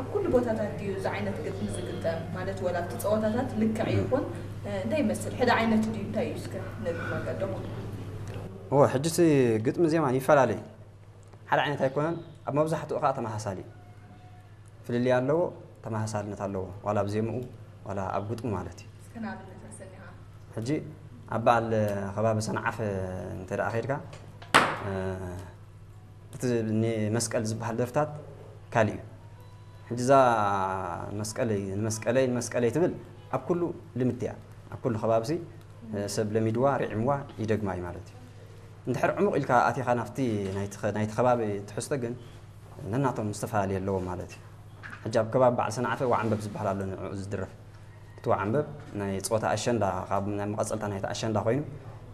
ኣብ ኩሉ ቦታታት ድዩ እዚ ዓይነት ግጥሚ ዝግጠም? ማለት ወላ ኣብቲ ጸወታታት ልክዕ ይኹን እንታይ ይመስል? ሕደ ዓይነት ድዩ እንታይ እዩ እስከ ነግርና ቀደሙ? እዎ ሕጂ እቲ ግጥሚ ዜማን ይፈላለ እዩ። ሓደ ዓይነት ኣይኮነን። ኣብ መብዛሕትኡ ከዓ ተመሳሳሊ እዩ። ፍልልይ ኣለዎ፣ ተመሳሳልነት ኣለዎ። ዋላ ኣብ ዜምኡ ዋላ ኣብ ግጥሙ ማለት እዩ። እስከ ንኣብነት ኣሰኒኻ። ሕጂ ኣብ በዓል ከባቢ ሰንዓፈ እንተ ደኣ ከይድካ እቲ መስቀል ዝበሃል ደርፍታት ካልእ እዩ። ሕጂ እዛ መስቀለይ ንመስቀለይ ንመስቀለይ ትብል ኣብ ኩሉ ልምዲ እያ። ኣብ ኩሉ ከባብሲ ሰብ ለሚድዋ ርዒምዋ ይደግማ እዩ ማለት እዩ። እንድሕር ዕሙቕ ኢልካ ኣቲኻ ናብቲ ናይቲ ከባቢ ትሕዝቶ ግን ነናቶም ዝተፈላለየ ኣለዎም ማለት እዩ። ሕጂ ኣብ ከባቢ በዓል ሰንዓፈ ዋዕንበብ ዝበሃል ኣሎ ንዕኡ ዝድረፍ። እቲ ዋዕንበብ ናይ ጾታ ኣሸንዳ ካብ ናይ መቐጸልታ ናይቲ ኣሸንዳ ኮይኑ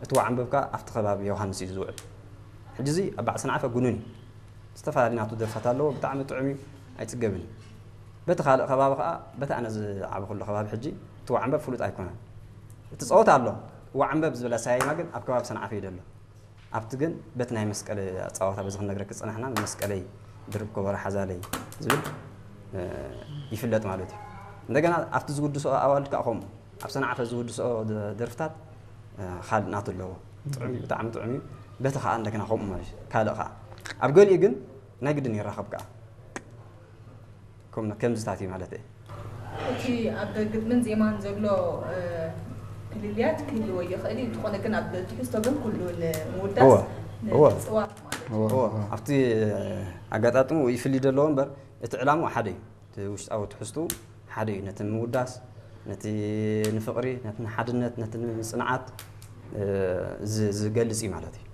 እቲ ዋዕንበብ ከኣ ኣብቲ ከባቢ ዮሃንስ እዩ ዝውዕል። ሕጂ እዚ ኣብ በዓል ሰንዓፈ ጉኑን እዩ። ዝተፈላለዩ ናቱ ደርፍታት ኣለዎ። ብጣዕሚ ጥዑም እዩ፣ ኣይጽገብን እዩ። በቲ ካልእ ከባቢ ከኣ በቲ ኣነ ዝዓበኹሉ ከባቢ ሕጂ እቲ ዋዕንበብ ፍሉጥ ኣይኮነን። እቲ ጸወታ ኣሎ። ዋዕንበብ ዝብል ኣሰያይማ ግን ኣብ ከባቢ ሰንዓፈ እዩ ዘሎ። ኣብቲ ግን በቲ ናይ መስቀል ኣጻዋታ በዚ ክንነግረኪ ዝጸናሕና መስቀለይ ድርብ ከበሮ ሓዛለይ ዝብል ይፍለጥ ማለት እዩ። እንደገና ኣብቲ ዝውድስኦ ኣዋልድ ከዓ ከምኡ ኣብ ሰንዓፈ ዝውድስኦ ደርፍታት ካልእ ናቱ ኣለዎ። ጥዑም እዩ፣ ብጣዕሚ ጥዑም እዩ። በቲ ከዓ እንደገና ከምኡ ማለት እዩ። ካልእ ከዓ ኣብ ገሊኡ ግን ናይ ግድን ይራኸብ ከዓ ከምዝታት እዩ ማለት እየ። እቲ ኣብ ግጥምን ዜማን ዘሎ ፍልልያት ክህልዎ ይኽእል እዩ። እንተኾነ ግን ኣብ ትሕዝቶ ግን ኩሉ ንምውዳስ ንፅዋት ማለት እዩ። ኣብቲ ኣጋጣጥሙ ይፍሊ ዘለዎ እምበር እቲ ዕላምኡ ሓደ እዩ። እቲ ውሽጣዊ ትሕዝቱ ሓደ እዩ። ነቲ ንምውዳስ፣ ነቲ ንፍቕሪ፣ ነቲ ንሓድነት፣ ነቲ ንጽንዓት ዝገልጽ እዩ ማለት እዩ።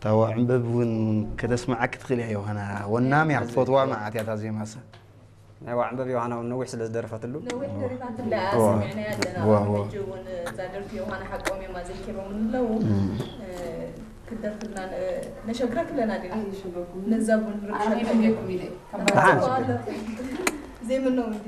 ታዋ ዕንበብ እውን ከተስምዓኪ ትኽእል እያ ዮሃና። ወናም እያ ክትፈትዋ መዓት እያ እታ ዜማሳ። ናይ ዋዕንበብ ዮሃና እውን ነዊሕ ስለ ዝደረፈትሉ ነዊሕ ደሪፋትላ እያ ሰሚዕናያ ኣለና። ሕጂ እውን እዛ ደርፊ ዮሃና ሓቆም እዮም ኣዘኪሮም ኣለዉ። ክትደርፍልና ነሸግረክ ኣለና ዲና። ነዛ እውን ርብሸኩም ኢለ ዘይምነው እንዲ